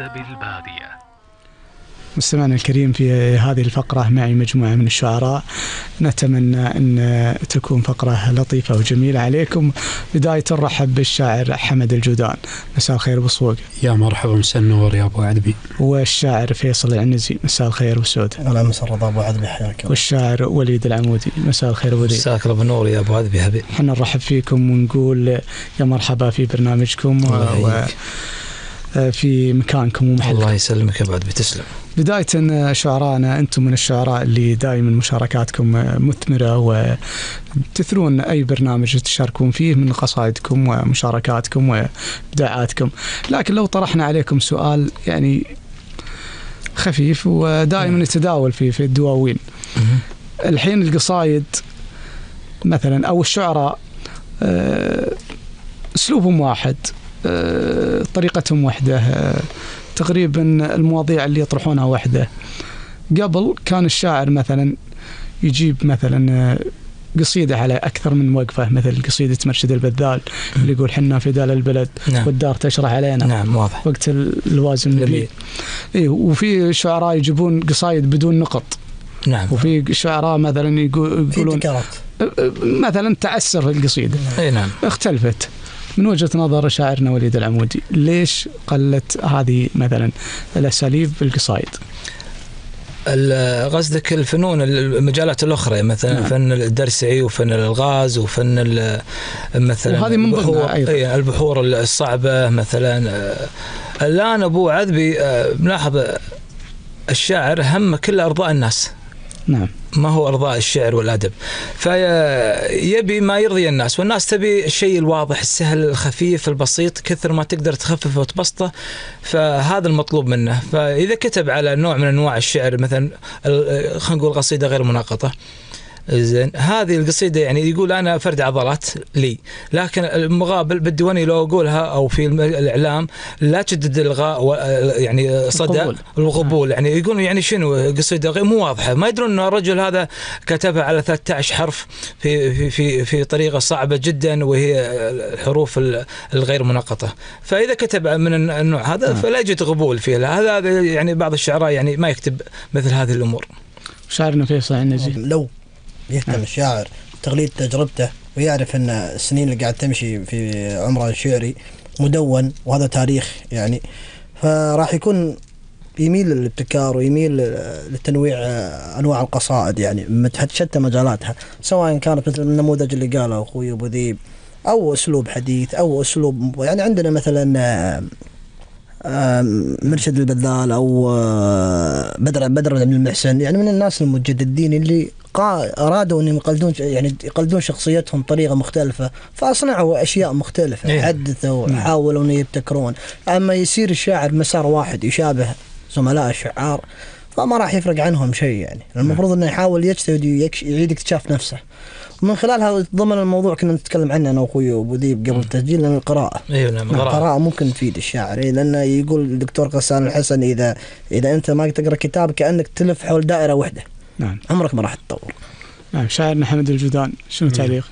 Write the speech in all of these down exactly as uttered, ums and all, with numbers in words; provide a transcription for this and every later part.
أدب البادية. مستمعنا الكريم، في هذه الفقرة معي مجموعة من الشعراء، نتمنى أن تكون فقرة لطيفة وجميلة عليكم. بداية نرحب بالشاعر حمد الجودان. مساء الخير بصوق. يا مرحبا، مساء النور يا أبو عدبي. والشاعر فيصل العنزي. مساء الخير والسود. أهلا مساء رضا أبو عدبي، حياك. والشاعر وليد العمودي. مساء الخير وليد. مساء الله بالنور يا أبو عدبي حبيبي. حنا نرحب فيكم ونقول يا مرحبا في برنامجكم و... في مكانكم ومحلكم. الله يسلمك يا أبو عدبي، تسلم. بداية شعراءنا، أنتم من الشعراء اللي دائما مشاركاتكم مثمرة وتثرون أي برنامج تشاركون فيه من قصائدكم ومشاركاتكم وإبداعاتكم. لكن لو طرحنا عليكم سؤال يعني خفيف ودائما يتداول في في الدواوين، الحين القصائد مثلا أو الشعراء أسلوبهم واحد، طريقتهم واحدة، تقريبا المواضيع اللي يطرحونها واحدة. قبل كان الشاعر مثلا يجيب مثلا قصيدة على أكثر من وقفة، مثل قصيدة مرشد البذال اللي يقول حنا فدال البلد. نعم. والدار تشرح علينا. نعم واضح. وقت الوازن النبي. إيه، وفي شعراء يجيبون قصايد بدون نقط. نعم. وفي شعراء مثلا يقولون مثلا تعسر في القصيدة. إيه نعم. اختلفت. من وجهة نظر شاعرنا وليد العمودي، ليش قلت هذه مثلا الأساليب في القصائد؟ قصدك الفنون المجالات الأخرى مثلا. نعم. فن الدرسعي وفن الألغاز وفن مثلا وهذه من ضمنها أيضا البحور الصعبة مثلا. الآن أبو عذبي ملاحظ الشاعر هم كل أرضاء الناس. نعم. ما هو أرضاء الشعر والأدب، فيبي ما يرضي الناس، والناس تبي الشيء الواضح السهل الخفيف البسيط، كثر ما تقدر تخففه وتبسطه، فهذا المطلوب منه. فإذا كتب على نوع من أنواع الشعر مثلا خلينا نقول قصيدة غير مناقطة، زين، هذه القصيدة يعني يقول أنا فرد عضلات لي، لكن المقابل بالديواني لو أقولها أو في الإعلام لا تجدد الغاء يعني صدى القبول، يعني يقولون يعني شنو قصيدة غير مو واضحة، ما يدرون أن الرجل هذا كتبها على ثلاثة عشر حرف في في في في طريقة صعبة جدا وهي الحروف الغير مناقطة. فإذا كتب من النوع هذا فلا يوجد قبول فيه. هذا يعني بعض الشعراء يعني ما يكتب مثل هذه الأمور. شاعرنا فيصل العنزي، لو يهتم الشاعر تقليد تجربته ويعرف أن السنين اللي قاعد تمشي في عمره الشعري مدون وهذا تاريخ يعني، فراح يكون يميل للابتكار ويميل للتنويع أنواع القصائد يعني شتى مجالاتها، سواء كانت مثل النموذج اللي قاله أخوي أبو ذيب أو أسلوب حديث أو أسلوب يعني عندنا مثلا مرشد البذال أو بدر بدر بن المحسن، يعني من الناس المجددين اللي أرادوا أن يقلدون يعني يقلدون شخصيتهم طريقة مختلفة، فأصنعوا أشياء مختلفة. إيه؟ حدثوا حاولوا أن يبتكرون. أما يصير الشاعر مسار واحد يشابه زملاء الشعار فما راح يفرق عنهم شيء يعني. المفروض أنه يحاول يجتهد ويعيد اكتشاف نفسه. ومن خلال هذا ضمن الموضوع كنا نتكلم عنه أنا وأخوي أبو ذيب قبل التسجيل، لأن القراءة. أيوة نعم. القراءة ممكن تفيد الشاعر، لأنه يقول الدكتور غسان الحسن إذا إذا أنت ما تقرأ كتاب كأنك تلف حول دائرة واحدة. نعم. عمرك ما راح تطور. نعم. شاعرنا حمد الجودان، شنو تعليق؟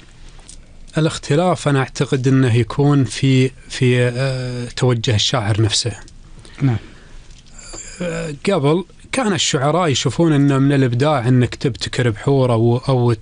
الاختلاف أنا أعتقد أنه يكون في في أه توجه الشاعر نفسه. نعم. أه قبل كان الشعراء يشوفون أنه من الإبداع أنك تبتكر بحور أو أو